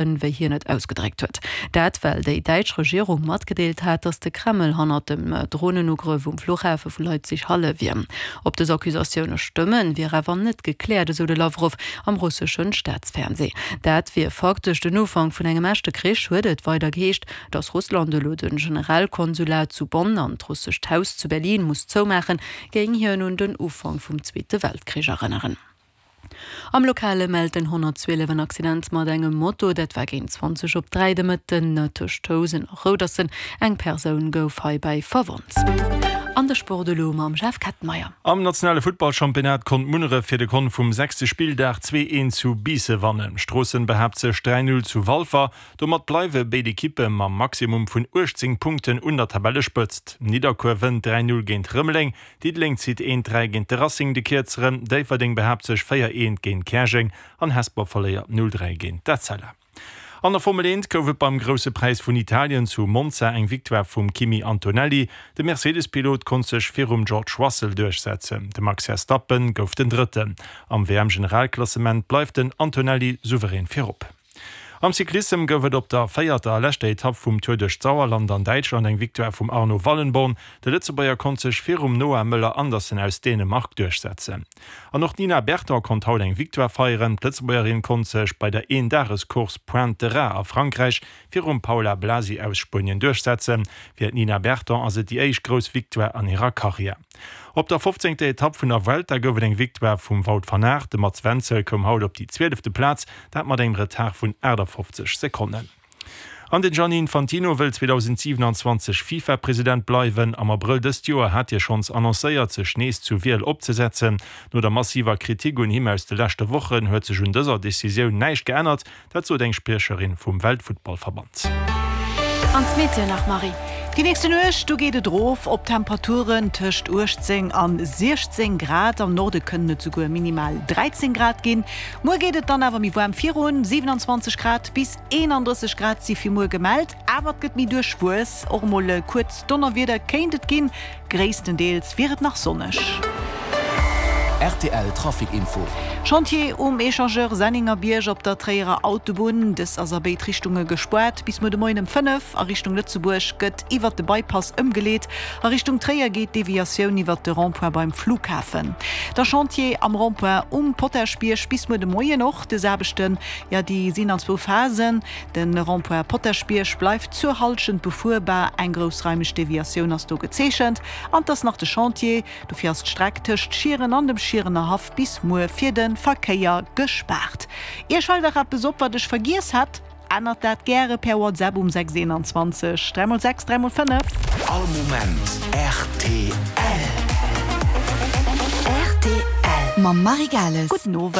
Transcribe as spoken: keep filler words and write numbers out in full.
Wéi hien et ausgedréckt huet. Dat well déi däitsch Regierung matgedeelt hat, datt de Kreml hannert dem Dronenugrëff um Fluchhafe vu Leipzig-Halle wier. Ob dës Accusatioune stëmmen, wier awer net gekläert, esou de Lawrow am russeschen Staatsfernsee. Dat wier faktesch den Ufank vun engem echte Krich, huet et weider geheescht. Datt Russland elo de Generalkonsulat zu Bonn an d'Russescht Haus zu Berlin muss zoumaachen, géing hien un den Ufank vum Zweete Weltkrich erënneren. Am Lokale mellt den honnertzwielef en Accident mat engem Moto. Dat war géint zwanzeg op dräi de Mëtten tëscht Housen a Roudersen. Eng Persoun gouf heibäi verwonnt. An de Sport elo mam Jeff Kettenmeyer. Am nationale Futtballchampionnat konnt Munneref fir de Kont vum sechste Spilldag zwee eent zu Biisse wannen. Stroossen behaapt sech dräi null zu Walfer. Domat bleiwe béid Ekippe mam Maximum vun uechtzéng Punkten un der Tabellespëtzt. Nidderkuer wënnt dräi null géint Rëmeleng, Diddeleng zitt eent dräi géint de Racing de Kierzeren, Déifferdeng behaapt sech véier eent géint Käerjeng an Hesper verléiert null dräi géint d'Etzella. An der Formel eent gouf et beim Grousse Präis vun Italien zu Monza eng Victoire vum Kimi Antonelli. De Mercedes-Pilot konnt sech virum George Russell duerchsetzen. De Max Verstappen gouf den Drëtten. Am W M-Generalklassement bleift den Antonelli souverän virop. Am Cyclissem gouf et op der véierter a leschter Etapp vum Tour duerch d'Sauerland an Däitschland eng Victoire vum Arno Wallenborn. De Lëtzebuerger konnt sech virum Noah Möller Andersen aus Dänemark duerchsetzen. An och d'Nina Berton konnt haut eng Victoire feieren. D'Lëtzebuergerin konnt sech bei der Eendagescourse Pointe de Raz a Frankräich virum Paula Blasi aus Spuenien duerchsetzen. Fir d'Nina Berton ass et déi éischt grouss Victoire an hirer Karriär. Op der fofzéngter Etapp vun der Vuelta gouf et eng Victoire vum Wout van Aert. De Mats Wenzel koum haut op déi zwielefte Plaz, dat mat engem Retard vun achtafofzeg Sekonnen. An den Gianni Infantino wëll zweedausendsiewenanzwanzeg FIFA-President bleiwen. Am Abrëll dëst Joer hat hie schonns annoncéiert, sech nees zur Wiel opzesetzen. No der massiver Kritik un him aus de leschte Wochen huet sech un dëser Decisioun näischt geännert, dat sot eng Spriecherin vum Weltfuttballverband. An d'Meteo nach, Marie. Déi nächste Nuecht, do geet et erof op Temperaturen tëscht uechtzéng an siechzéng Grad, am Norde kënnen et souguer minimal dräizéng Grad ginn. Muer geet et dann awer méi waarm virun, siewenanzwanzeg Grad bis eenandrësseg Grad si fir muer gemellt, awer et gëtt méi duerchwuess, och emol e kuerzt Donnerwieder kéint et ginn. Gréisstendeels wier et nach sonneg. Rtl Trafic Info. Chantier um Echangeur Sennengerbierg op der Tréierer Autobunn. Dës ass a béid Richtunge gespaart. Bis muer de Moien ëm fënnef. A Richtung Lëtzebuerg gëtt iwwert de Bypass ëmgeleet. A Richtung Tréier geet d'Deviatioun iwwert de Rond-point beim Flughafen. Da Chantier am Rond-point um Potaschbierg bis muer de Moien och. Dës Aarbechten, jo déi sinn an zwou Phasen. De Rond-point Potaschbierg bleift zur Hallschent befuerbar. Eng groussraimeg Deviatioun ass do gezeechent. An 't ass nach de Chantier. Dofir ass d'Streck tëscht Schieren an dem Schierener Haff bis muer fir de Verkéier gespaart. Iech fält nach eppes op, wat ech vergiess hat? Ännert dat gäre per WhatsApp um sechs eenanzwanzeg dräi mol sechs dräi mol fënnef. All Moment rtl. Rtl mam Marie Gales. Gudden Owend.